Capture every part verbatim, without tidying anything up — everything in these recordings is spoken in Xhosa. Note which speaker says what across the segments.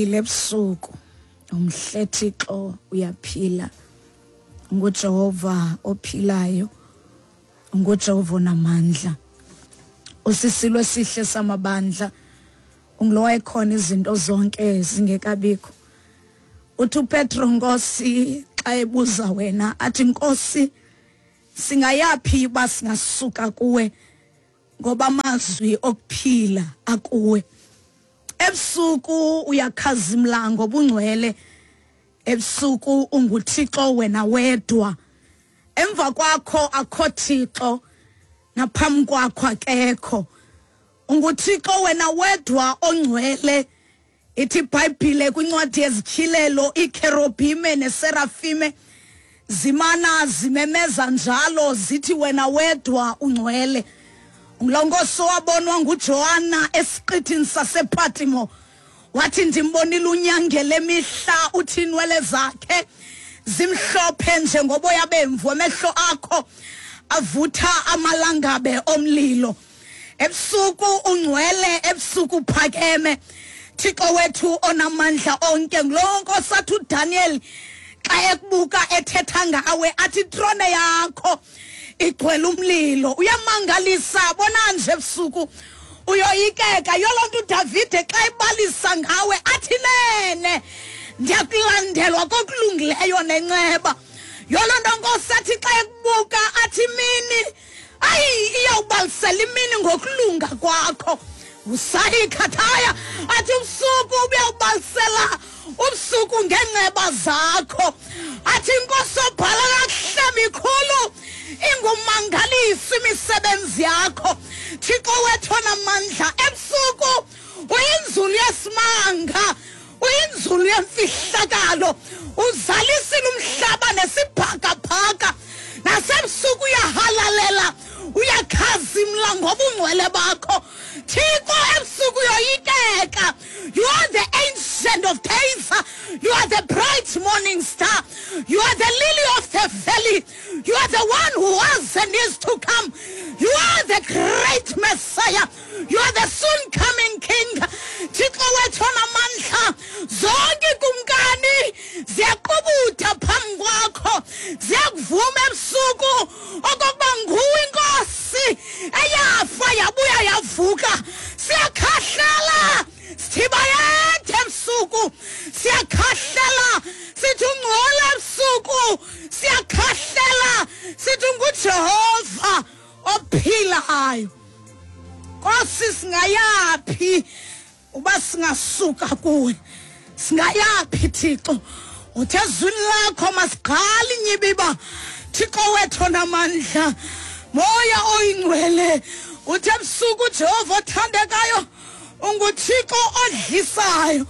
Speaker 1: Ebusuku umhle Thixo uyaphila, nguJehova ophilayo, nguJehova onamandla, usisilo esihle samabandla, ungulo ekhona izinto zonke zingekabikho. Uthi uPetro, Nkosi, xa ebuza wena athi, Nkosi, singayaphi uba singasuka kuwe, ngoba amazwi okuphila akuwe. Ebusuku uyakhazimla ngobungcwele, ebusuku unguThixo wena wedwa, emva kwakho akho Thixo, naphambi kwakho akekho. UnguThixo wena wedwa ongcwele. Ithi iBhayibhile kwincwadi yezityhilelo, iKherobhime neSerafime zimana zimemeza njalo zithi wena wedwa ungcwele. Ngulonkosi owabonwa nguJohana esiqithini sasePatimo, wathi ndimbonile unyangele emihla, uthi inwele zakhe zimhlophe njengoboya bemvu, amehlo akho avutha amalangabe omlilo. Ebusuku ungcwele, ebusuku uphakeme, Thixo wethu onamandla onke. Ngulonkosi athi uDaniel xa ekubuka ethetha ngawe athi itrone yakho igcwele umlilo. Uyamangalisa, bona nje ebusuku uyoyikeka. Yoloo nto uDavide xa ebalisa ngawe athi nene ndiyakulandelwa kokulungileyo nenceba. Yoloo nto Nkosi athi xa ekubuka athi imini, ayi, iyawubalisela imini ngokulunga kwakho. Usayikhathaya athi ubusuku ubuyawubalisela ubusuku ngenceba zakho. Athi Inkosi obhala kakuhle mikhulu ingumangaliso imisebenzi yakho, Thixo wethu onamandla. Ebusuku uyinzulu yesimanga, uyinzulu yemfihlakalo, uzalisile umhlaba nesibhakabhaka. Nasebusuku uyahalalela, uyakhazimla ngobungcwele bakho, Thixo. Ebusuku uyoyikeka. You are the Ancient of Days, you are the bright morning star, you are the lily of the valley, you are the one who was and is to come, you are the great Messiah, you are the soon coming King. Thixo wethu onamandla, zonke ikumkani ziyaqubutha phambi kwakho, ziyakuvuma ebusuku okokuba nguwe inkosi eyafa yabuya yavuka. Siyakhahlela sithibayethe ebusuku, siyakhahlela sithi ungcole ebusuku, siyakhahlela sithi unguJehova ophilayo. Nkosi, singayaphi uba singasuka kuwe? Singayaphi, Thixo? Uthe ezwini lakho masiqale inyibiba, Thixo wethu onamandla, Moya oyingcwele. Uthe ebusuku uJehova othandekayo unguThixo odlisayo,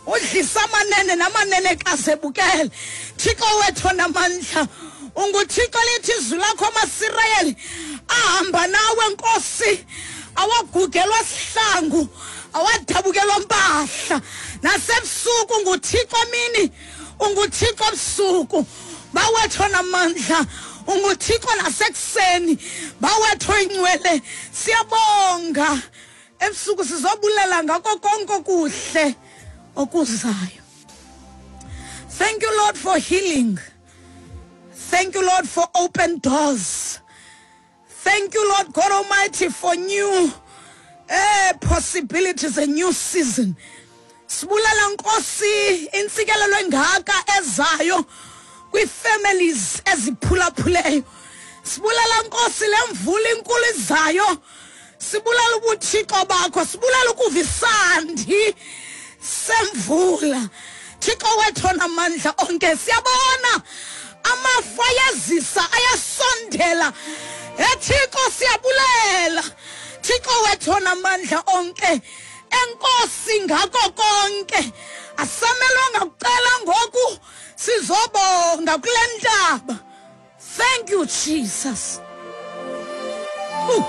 Speaker 1: udlisa amanene namanenekazi ebukele. Thixo wethu onamandla, unguThixo lithi izwi lakho amaSirayeli ahamba nawe Nkosi, awagugelwa sihlangu, awadabukelwa mpahla. Nasebusuku unguThixo mini, unguThixo ebusuku, bawethu onamandla, unguThixo nasekuseni, bawethu oyingcwele. Siyabonga ebusuku, sizobulela ngako konke okuhle okuzayo. Thank you, Lord, for healing. Thank you, Lord, for open doors. Thank you, Lord God Almighty, for new eh, possibilities, a new season. Sibulela Nkosi intsikelelo engaka ezayo kwii-families eziphulaphuleyo. Sibulela Nkosi le mvula inkulu izayo. Sibulela ubuthixo bakho, sibulela ukuva isandi semvula. Thixo wethu onamandla onke, siyabona amafu ayazisa, ayasondela. EThixo siyabulela, Thixo wethu onamandla onke, enkosi ngako konke. Asamelwanga kucela ngoku, sizobonga kule ntaba. Thank you, Jesus. Ooh.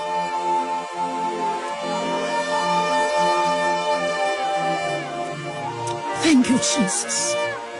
Speaker 1: Thank you, Jesus.